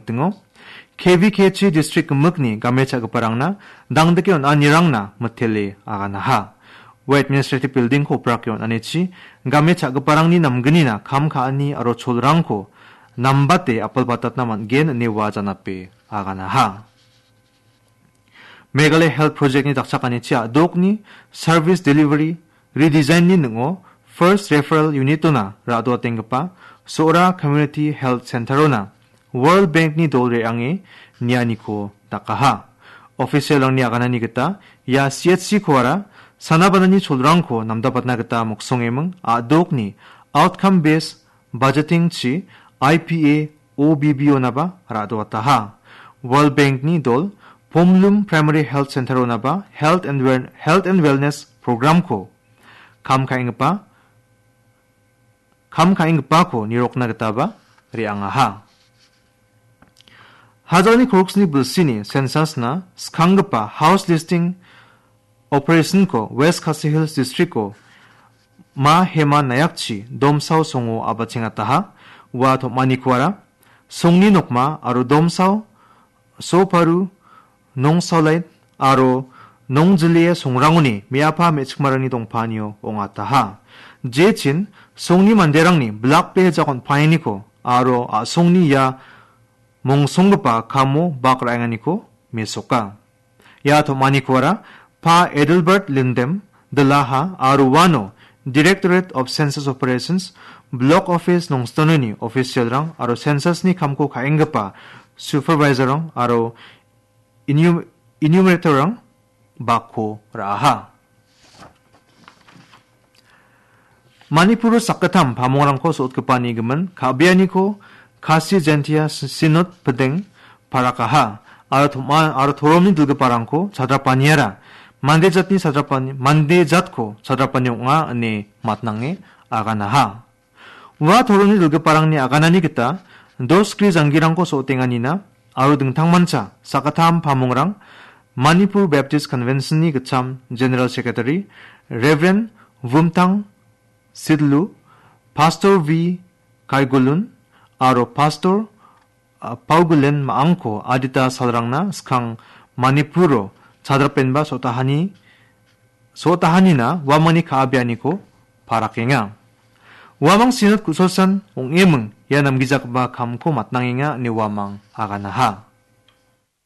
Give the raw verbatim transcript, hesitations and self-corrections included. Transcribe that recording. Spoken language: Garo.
Tingo, K V K G district gimikni game cha·giparangna dangdike on·anirangna mitele aganaha. Ua administrative building-ko oprake on·anichi game cha·giparangni namgnina kam ka·ani aro cholrangko nambate apilbatatna man·gen ine ua janape aganaha. Meghalaya Health Project-ni dakchakanichi a·dokni service delivery redesign-ni ning·o First Referral Unit-ona ra·doatenggipa Sohra Community Health Center-ona World Bank-ni dol re·ange nianiko dakaha. Official-rangni aganani gita ia C H C-koara sana-banani cholrangko namdapatna gita moksongeming a·dokni outcome based budgeting-chi I P A O B B-onaba ra·doataha. World Bank-ni dol Pomlum Primary Health Center-onaba Health and Wel-, Health and Wellness Program-ko kam ka·enggipa, kam ka·enggipako nirokna gitaba re·angaha. Hajalni koroksni bilsini census-na skanggipa house listing operation-ko West Khasi Hills District-o Ma Hema Nayakchi Domsao songo abachengataha. Ua tom·anikoara Songni Nokma aro Domsao, Soparu, Nongsaolait aro Nongjilie songrangoni me·apa me·chikmarangni dongpanio ong·ataha. Jechin Songni manderangni bilakbe jakon paeniko aro a·songni ia mongsonggipa kamo bak ra·enganiko mesoka. Ia tom·anikoara Pa Adelbert Lindem, Dilaha aro uano Directorate of Census Operations, Block Office Nongstononi official-rang aro census-ni kamko ka·enggipa supervisor-rang aro enum-, enumerator-rang bakko ra·aha. Manipuro sakgittam pamongrangko so·otgipani gimin ka·bianiko Khasi Jaintia Si-, Synod Pideng parakaha aro tom·a-, aro toromni dilgiparangko chadrapaniara mande jatni chadrapani, mande jatko chadrapani ong·a ine matnange aganaha. Ua toromni dilgiparangni aganani gita dos skri janggirangko so·otenganina aro dingtangmancha sakgittam pamongrang Manipur Baptist Convention-ni gitcham General Secretary Reverend Vumtang Sidlu, Pastor V Kaigulun aro Pastor, ah, Paugulen ma·angko adita salrangna skang Manipuro chadrapenba sotahani, sotahanina uamangni ka·a bianiko parakenga. Uamang Synod ku·sosan ong·eming ia namgijagipa kamko matnangenga ine uamang aganaha.